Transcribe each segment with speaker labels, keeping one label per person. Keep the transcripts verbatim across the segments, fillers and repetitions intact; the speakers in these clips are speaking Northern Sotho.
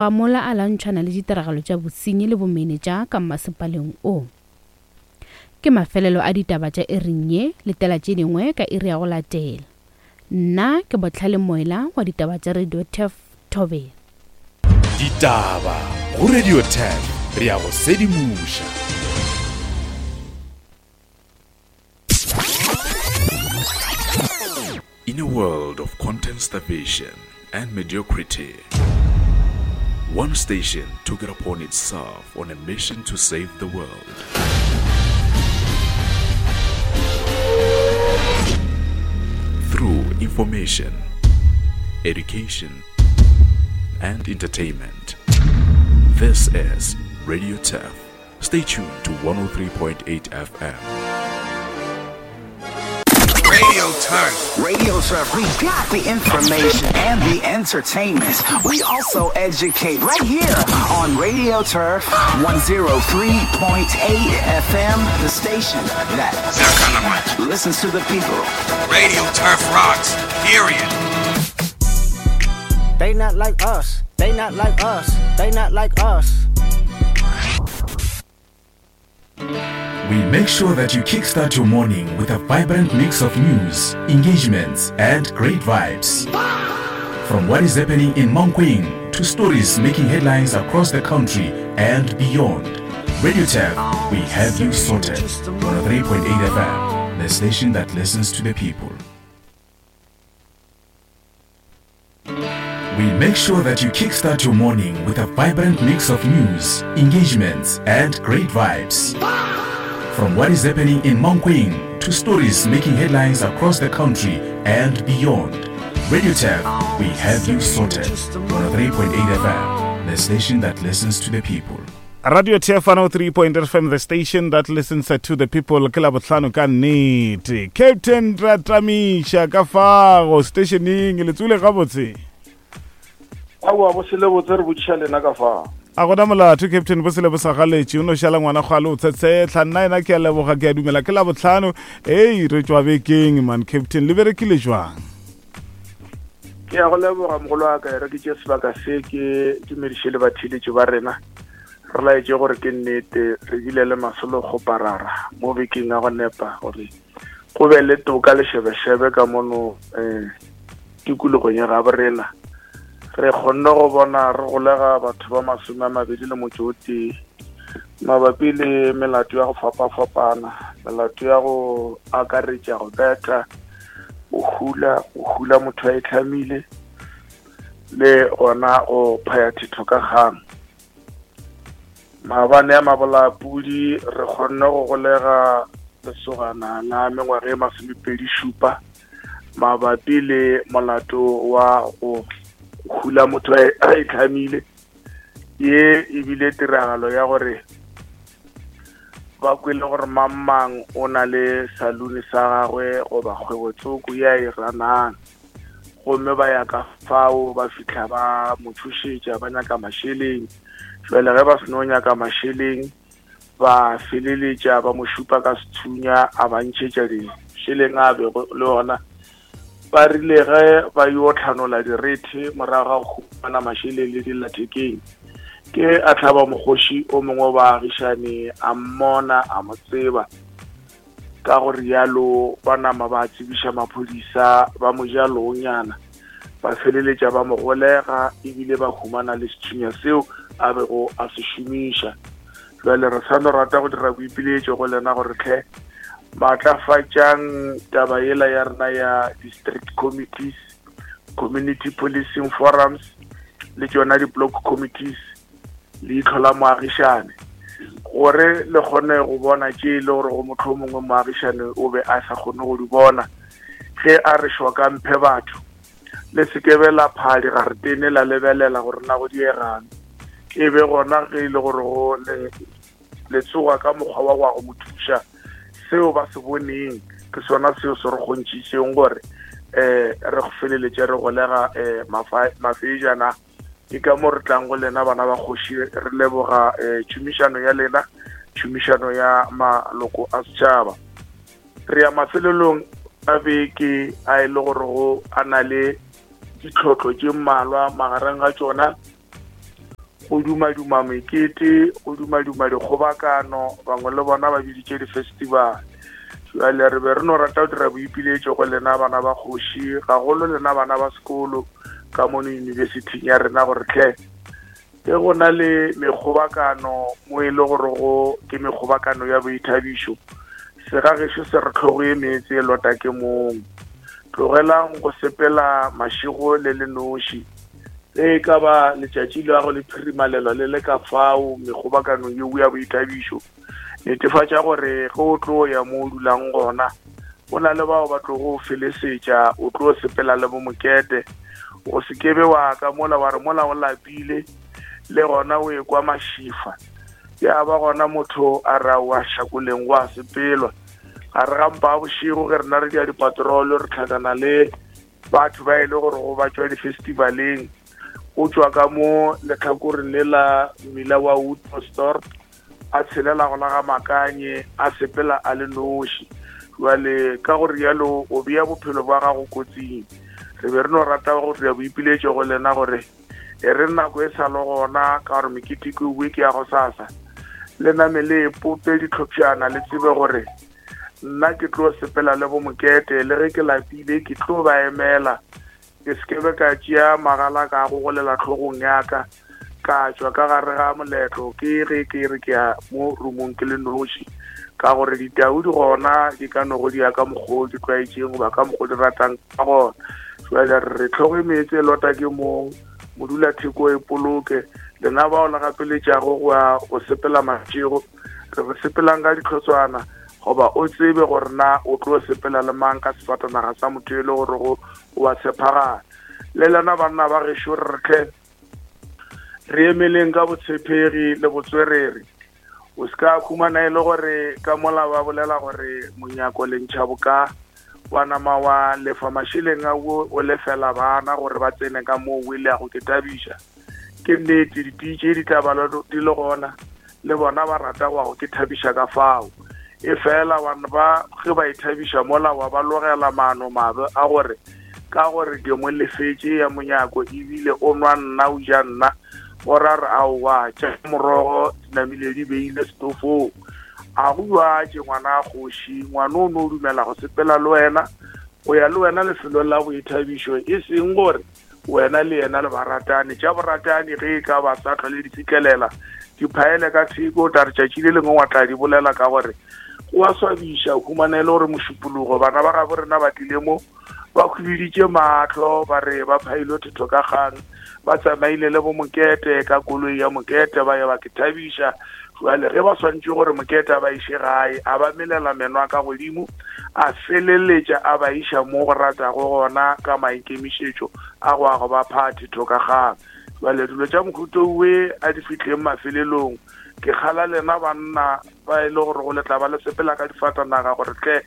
Speaker 1: Mola a lwantšhana le ditiragalo tša bosenyi le bomenetša ka mmasepaleng o. Ke mafelelo a ditaba tša iring ye, letela tše dingwe ka iri ya go latela. Nna ke Bohlale Moela wa ditaba tša Radio Turf Thobela.
Speaker 2: Ditaba go Radio Turf, re ya go sedimoša. In a world of content starvation and mediocrity, one station took it upon itself on a mission to save the world. Through information, education, and entertainment. This is Radio Turf. Stay tuned to one oh three point eight F M.
Speaker 3: Radio Turf.
Speaker 4: Radio Turf. We got the information and the entertainment. We also educate right here on Radio Turf one oh three point eight F M, the station that listens to the people.
Speaker 3: Radio Turf rocks, period.
Speaker 5: They not like us. They not like us. They not like us.
Speaker 2: We make sure that you kickstart your morning with a vibrant mix of news, engagements, and great vibes. From what is happening in Mankweng to stories making headlines across the country and beyond. Radio Turf, we have you sorted. one oh three point eight F M, the station that listens to the people. We make sure that you kickstart your morning with a vibrant mix of news, engagements, and great vibes. From what is happening in Mankweng to stories making headlines across the country and beyond. Radio Turf, we have you sorted. one oh three point eight F M, the station that listens to the people.
Speaker 6: Radio Turf one oh three point eight F M, the station that listens to the people. Ke la bohlano ka nnete. Captain Ratamisha ka fago stationing le tsule gabotse.
Speaker 7: Aowa, bo sele botse re botšiša lena ka fa.
Speaker 6: A gona molato Captain, bo sele bo sa galetše, o no šala ngwana kgwale o tshetshehla. Nna ena ke a leboga, ke a dumela ke la bohlano. Ei, re tšwa bekeng man Captain, le berekile jwang?
Speaker 7: Ke a go leboga mogolo wa ka, re ke tše sebaka se ke dumediše le batheeletši ba rena. Re laetše gore ke nnete re bile le masolo kgoparara mo bekeng ya go nepa gore go be le toka le šebešebe ka mono, eh, tikologong ya gabo rena. Re kgonne go bona re golega batho ba masome a mabedi le motšo o tee mabapi le melato ya go fapafapana, melato ya go akaretša go betha, go hula, go hula motho a itlhamile, le gona go phaya thetho ka kgang. Maabane a mabolapudi re kgonne go golega lesogana la mengwaga e masomepedi šupa mabapi le molato wa go hula motho a itlhamile. Ye ebile tiragalo ya gore ba kwele gore mang mang o na le salone sa gagwe goba kgwebo tsoko ya e ranang, gomme ba ya ka fao ba fihla ba mo tšhošetša ba nyaka mašeleng. Jwale ge ba seno nyaka mašeleng ba feleletša ba mo šupa ka sethunya a ba ntšhetša dišeleng a bego le ona. Ba rile ge ba yo tlhanola direthe morago ga go humana mašeleng le dillathekeng, ke a tlhaba mokgoši o mongwe wa baagišane a mmona a mo tseba. Ka go rialo ba nama ba tsebiša maphodisa ba mo ja loonyana, ba feleletša ba mo golega ebile ba humana le sethunya seo a bego a se šomiša. Jwale re sa no rata go dira boipiletšo go lena gore tlhe maatlafatšang taba yela ya rena ya district committees, community policing forums le tšona di-block committees, leihlo la moagišane, gore le kgone go bona tše e le gore go motho o mongwe moagišane o be a sa kgone go di bona. Ge a re šoka mphe batho, le se ke be la phaa digaretene la lebelela gore na go diegang, e be gona ge e le gore go le le tsoga ka mokgwa wa go ya go mo thuša. Seo ba se boneng ke sona seo se re kgontšhišeng gore eh re go feleletše re golega eh mafejana. Ke ka mo re tlang go lena bana ba kgoši, re leboga eh tšhomišano ya lena, tšhomišano ya maloko a setšhaba. Re ya mafelelong a beke a e le gore go a na le ditlhotlho tše mmalwa magareng ga tšona Go dumaduma mekete, go dumaduma dikgobakano, bangwe le bona ba biditše di-festival. Jwale re be re no rata go dira boipiletšo go lena bana ba kgoši, gagolo lena bana ba sekolo ka mono yunibesithing ya rena gore tlhe ge go na le mekgobakano mo e le gore go ke mekgobakano ya boithabišo, segagešo se re tlhogo e meetse e lota ke mong. Tlogelang go sepela mašego le le noši. Ge e ka ba letšatši la go le phirimalelwa le le ka fao mekgobakanong yeo ya boithabišo, netefatša gore ge o tlo ya mo o dulang gona go na le bao ba tlogo felesetša, o tlo sepela le bo mokete. O se kebe wa ka mola wa re mola o lapile le gona o ekwa mašifa, ya ba gona motho a ra wa šakoleng go a sepelwa. Gare ga mpa a bošego ge rena re dia dipatrolo re tlhakana le batho ba e le gore go ba tšwa di-festivaleng, o tšwa ka mo letlhakoreng le la mmila wa Woodstock a tshelela go la ga Makanye a sepela a le noši. Jwale ka gore yalo o bea bophelo bwa gago kotsing. Re be re no rata go dira boipiletšo go lena gore e re nako e sa le gona, ka gore mekete ke bue ke ya go sasa, le name le pope ditlhopšana, le tsebe gore nna ke tlo sepela le bo mokete, le ge ke lapile ke tlo ba emela. Ke se ke be ka tšea magala ka go golela tlhogong ya ka ka tšwa ka gare ga moletlo ke ge ke re ke ya mo rumong ke le noši, ka gore ditau di gona di ka no go di ya ka mokgwa o di tlwaetšeng goba ka mokgwa o di ratang ka gona. Jwale re tlhoge meetse e lota ke mong, modula theko e poloke. Lena bao le gapeletšago go ya go sepela mašego, re re sepelang ka ditlhotswana, goba o tsebe gore na o tlo sepela le mang ka sefatanaga sa motho e le gore go wa tshepagala. Le lena banna ba gešo re tle re emeleng ka botshepegi le botswerere. O se ka khumana e le gore ka mola ba bolela gore monyako le ntšha boka, wa nama wa lefa mašeleng a o lefela bana gore ba tsene ka moo o ile go ke thabiša. Ke nnete di-D J di tla ba di le gona, le bona ba rata go go ke thabiša ka fao. E fela bana ba ge ba ithabiša mola wa ba logela maano mabe a gore ka gore ke mo lefetše ya monyako ebile o nwa nna o ja nna, o ra re aowa tša morogo di namile di beile setofong. A go jwatše ngwana a kgoši, ngwana o no o dumela go sepela le wena, go ya le wena lefelong la boithabišo, e seng gore wena le yena le baratane. Tša boratane ge e ka ba sa tlhole di fihlelela di phaele ka theko, o tla re tšatši le lengwe wa tla di bolela ka gore o a swabiša. O humana e le gore mošupologo bana ba gabo rena ba tlile mo ba khwibiditše mahlo, ba re ba phaile thetho ka kgang, ba tsamaile le bo mokete ka koloi ya mokete ba ya ba ke thabiša. Jwale ge ba swantše gore mokete a ba iše gae, a ba melela meno a ka godimo, a feleletša a ba iša mo go ratago gona ka maikemišetšo a go a go ba pha thetho ka kgang. Jwale dilo tša mohuto owe a di fihleng mafelelong. Ke kgala lena banna ba e le gore go letla ba le sepela ka difatanaga gore tle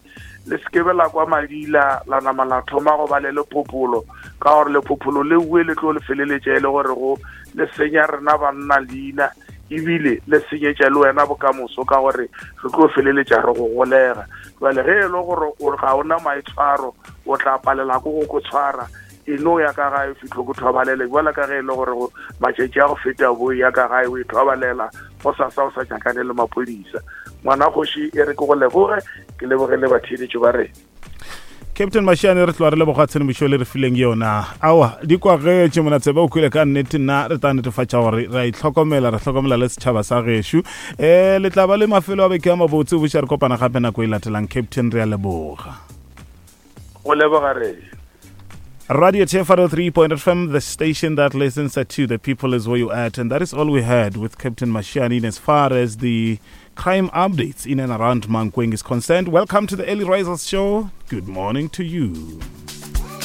Speaker 7: le se ke be la kwa madila la nama la thoma go ba le lephopolo, ka gore lephopolo le bue le tlo le feleletša e le gore go le senya rena banna leina, ebile le senyetša le wena bokamoso, ka gore re tlo feleletša re go golega. Jwale ge e le gore ga ona maitshwaro, o tla palela ko go ko tshwara, e no ya ka gae fitlho ko thobalele, jwale ka ge e le gore matšatši a go feta bo ya ka gae o e thobalela go sasa o sa nyakane le maphodisa. Ngwana kgoši e re ke go leboge, ke leboge le batheeletši ba rena.
Speaker 6: Captain Mashiane, re tloga re leboga tshedimošo le re fileng yona. Aowa di kwagetše mona tsebe o kwele ka nnete, nna re tla netefatša gore re a itlhokomela, re hlokomela le setšhaba sa gešo. Um le tla ba le mafelo a beke a mabotse, boša re kopana gape nako e latelang. Captain, re a leboga.
Speaker 7: Go leboga re.
Speaker 6: Radio T F one oh three point F M, the station that listens to the people, is where you at. And that is all we had with Captain Mashiane as far as the crime updates in and around Mankweng is concerned. Welcome to the Early Risers Show. Good morning to you.